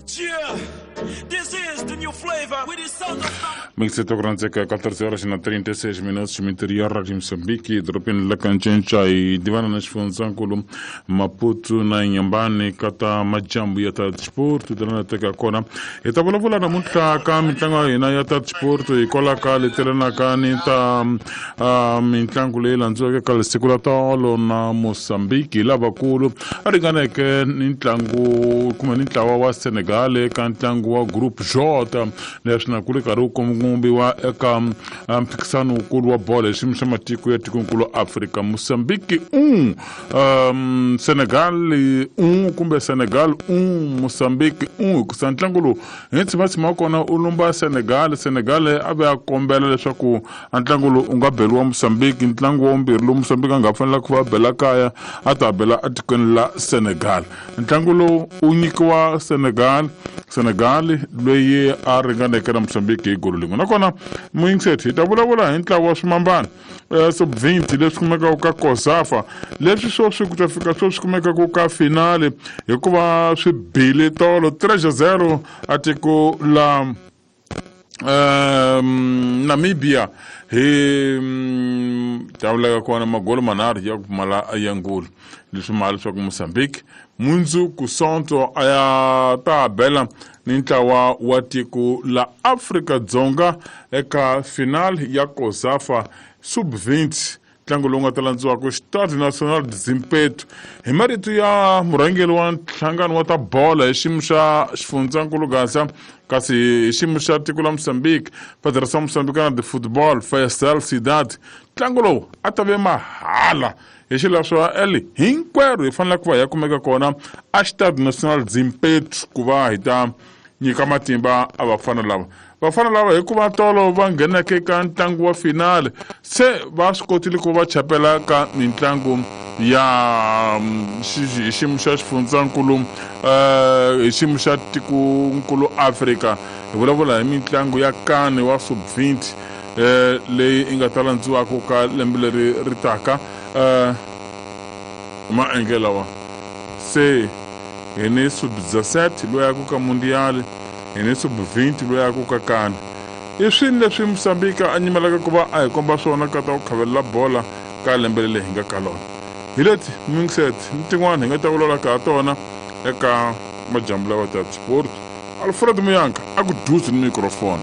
Yeah, this is the new flavor with the sound of Mixito ku rhandzeka 14 horas na 36 minutos minterior de Moçambique, dorobeni la Kancenca hi divana na xifundzankulu Maputo na Inhambane ka ta majambu ya ta sport lana teka kona. Hi ta vulavula namuntlha ka mitlangu ya hina ya ta sport hikwalaho ka letelanaka ni ta mitlangu leyi landziweke ka siku la tolo na Mozambique hi lavakulu a ringaneke ni ntlangu kumbe ni ntlawa wa Senegal eka ntlangu wa Group J, leswi na ku ri karhi wu kombiwa eka mphikisano wukulu wa bolo hi xiyimo xa matiko ya tikonkulu Afrika. Mozambique 1, Senegal 1, kumbe Senegal 1, Mozambique 1, hikusa ntlangu lowu hi tshimatshima wa kona u lumba Senegal. Senegal a ve a kombela leswaku a ntlangu lowu u nga beriwa Mozambique, ntlangu wa vumbirhi lowu Mozambique a nga fanela ku va bela kaya a ta bela etikweni la Senegal. Ntlangu lowu u nyikiwa Senegal, Senegal loyi a ringaneke na Mozambique hi golo lin'we. Nakona muyingiseti, hi ta vulavula hi ntlawa wa swimambana sub 20 leswi kumekaka ka COSAFA, leswi sweswi ku ta fika sweswi kumekaka ka finale hikuva swi bile tolo 3-0 a tiko la Namibia hi tavuleka kona magolo manharhu ya ku pfumala ya ngulu, leswi mali leswaku Mozambique mundzuku Sonto a ya ta bela ni ntlawa wa tiko la Afrika-Dzonga eka final ya COSAFA sub 20, ntlangu lowu nga ta landziwaka Stade National de Zimpeto. Hi marito ya murhangeri wa nhlangano wa ta bola hi xiyimo xa xifundzankulu Gaza, kasi hi xiyimo xa tiko la Mozambique, Federação Moçambicana de Football, Faisal Sidad, ntlangu lowu a ta ve mahala hi xileswo eli hinkwerhu hi fanele ku va hi ya kumeka kona a Stade National Zimpeto ku va hi ta nyika matimba a vafana lava. Vafana lava hikuva tolo va ngheneke ka ntlangu wa finale, se va swi kotile ku va chapela ka mitlangu ya hi xiyimo xa xifundzankulu, hi xiyimo xa tikonkulu Afrika. Hi vulavula hi mitlangu ya kane wa sub 20 leyi yi nga ta landziwaka ka lembe leri ri taka. Maendlelo lawa se hi ni sub 17 loyi ya ku ka mundial, hi ni sub 20 loyi ya ku ka kane. I swini leswi Mozambique a nyimelaka ku va a hi komba swona ka ta ku khavelela bola ka lembe leri hi nga ka lona? Hi leti mingset ni tin'wana hi nga ta vulavula ka ha tona eka majambu lawa ta sport. Alfred Muyanka a ku duzi ni microphone.